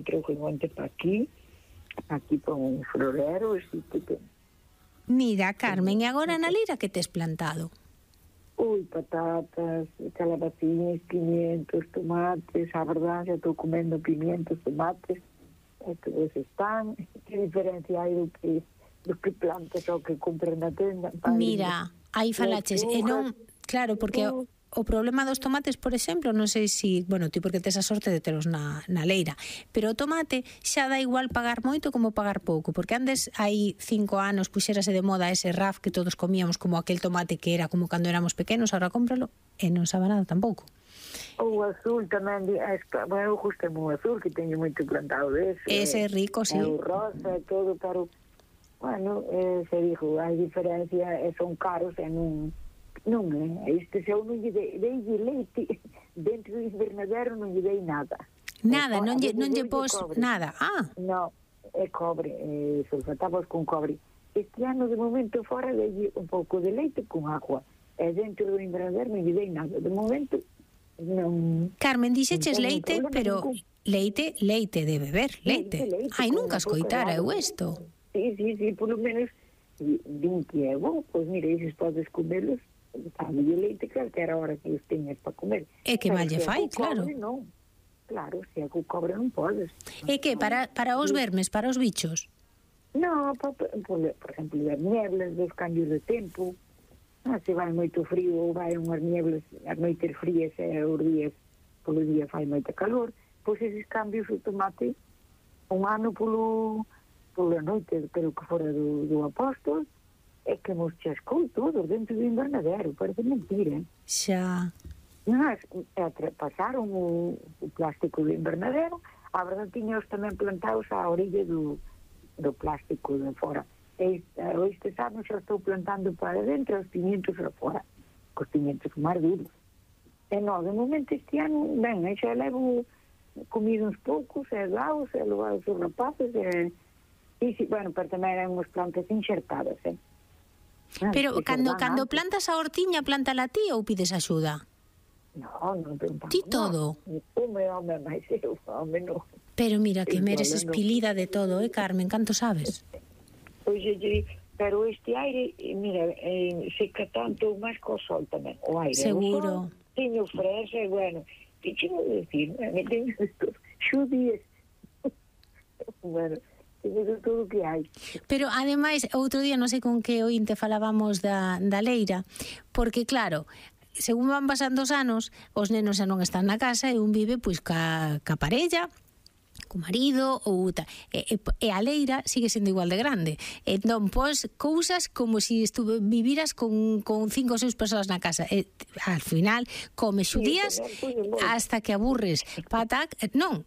trouxe un monte para aquí para un florero, así que... Mira, Carmen, e agora na leira que tes plantado? Patatas, calabacinas, pimientos, tomates, a verdade, eu estou comendo pimientos, tomates, todos están. Que diferencia hai do que plantas ou que compras na tenda? Mira, aí falaches, e non, claro, porque o problema dos tomates, por exemplo, non sei si, bueno, ti porque tes a sorte de telos na leira, pero o tomate xa dá igual pagar moito como pagar pouco, porque antes hai 5 anos puxérase de moda ese raf que todos comíamos como aquel tomate que era como cando éramos pequenos, ahora cómpralo e non sabe nada tampouco. O azul tamén, eu gustame o azul, que teño moito plantado dese. Ese é rico, sí. O rosa e todo, pero, bueno, se dixo, hai diferencia, son caros e non este se eu non lle dei leite dentro do invernadero, non lle dei nada. Nada, non lle pos nada. No, é cobre, sulfatamos con cobre. Este ano, de momento, fora dei un pouco de leite con agua, e dentro do invernadero non lle dei nada. De momento, non... Carmen, dixeches leite, pero leite de beber, leite. Ai, nunca escoitara eu isto. Sí, polo menos 20 euros, pois mira, eses podes comelos, sabe, de leite, claro que era a hora que os teñas para comer. É que mal lle fai, claro. Non, claro, se é co cobre non podes. É que para os vermes, para os bichos? Non, por exemplo, as nieblas dos cambios de tempo, se vai moito frío ou vai unhas nieblas, as noites frías e os días, polo día fai moita calor, pois eses cambios o tomate un ano pola noite, pero que fora do apóstol, é que nos chascou todos dentro do invernadero, parece mentira. Xa. Pasaron o plástico do invernadero, a verdade tiñaos tamén plantados á orilla do plástico de fora. Este ano xa estou plantando para dentro os pimientos para fora, os pimientos máis duros. E non, de momento este ano, ben, xa levo comido uns poucos, e daos, e levados os rapaces, bueno, pero tamén eran unhas plantas enxertadas, Pero cando plantas a hortiña, plantala ti ou pides axuda? Non plantamos. Ti todo? Home, máis eu, home, non. Pero mira, que meres espilida de todo, Carmen, canto sabes? Pois, pero este aire, mira, seca tanto máis co sol tamén, o aire. Seguro. Teño fresa, bueno, que chego a decir, me teño estos xudíes. Bueno, teño todo o que hai. Pero, ademais, outro día, non sei con que ointe falábamos da leira, porque, claro, según van pasando os anos, os nenos xa non están na casa e un vive, pois, ca parella, co marido ou e a leira sigue sendo igual de grande. Entón, pois, cousas como se viviras con 5 ou 6 persoas na casa. Al final, comes xudías hasta que aburres. Patac, non.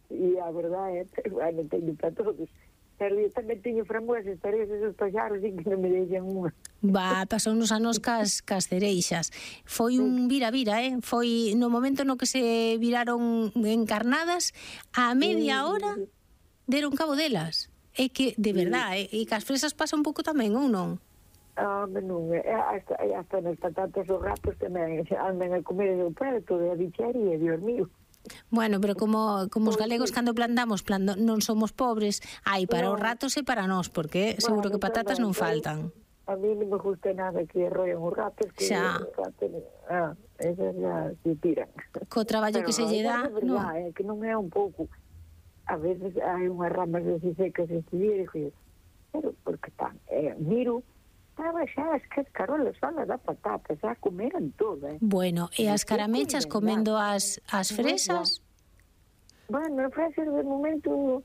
E a verdade é, bueno, teño para todos. Pero eu tamén teño frambuesas, pero esos paxaros que non me deixan unha. Pasou nos anos cas cereixas. Foi un vira-vira, Foi no momento no que se viraron encarnadas, a media hora deron cabo delas. É que, de verdade, e cas fresas pasa un pouco tamén, ou non? Non, hasta nas patatas os ratos tamén andan a comer o prato de a bicharía, Dios mío. Bueno, pero como os galegos cando plantamos non somos pobres, hai para os ratos e para nós, porque seguro que patatas non faltan. A mí non me gusta nada que roen os ratos, que esas ya se tiran. Co traballo que se lle dá, non. Que non é un pouco, a veces hai unhas ramas así secas este día, pero porque están, miro, estaba xa as cascarolas solas da patata, xa comeran todas. Bueno, e as caramechas comendo as fresas? Bueno, as fresas de momento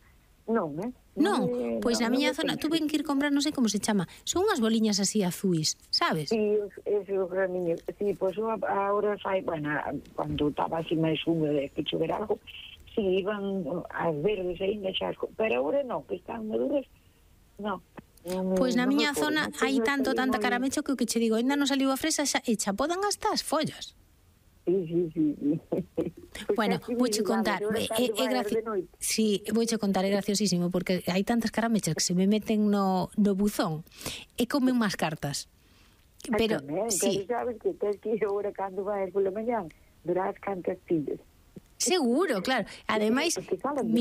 non, Non, pois na miña zona tuve que ir comprar, non sei como se chama, son unhas boliñas así azuis, sabes? Sí, esos graniños, sí, pois agora sai, bueno, cando estaba así máis húmedo que chover algo, sí, iban as verdes ainda xa, pero agora non, que están maduras, non. Pois na miña zona hai tanta caramecho que o que che digo, ainda non saliu a fresa e xa podan hasta as follas. Sí. Bueno, vouche contar, vouche contar, é graciosísimo, porque hai tantas caramechas que se me meten no buzón e comen máis cartas. Pero, sí. Sabes que tens que ir agora cando vais pola mañán, durás cantas pillas. Seguro, claro. Ademais,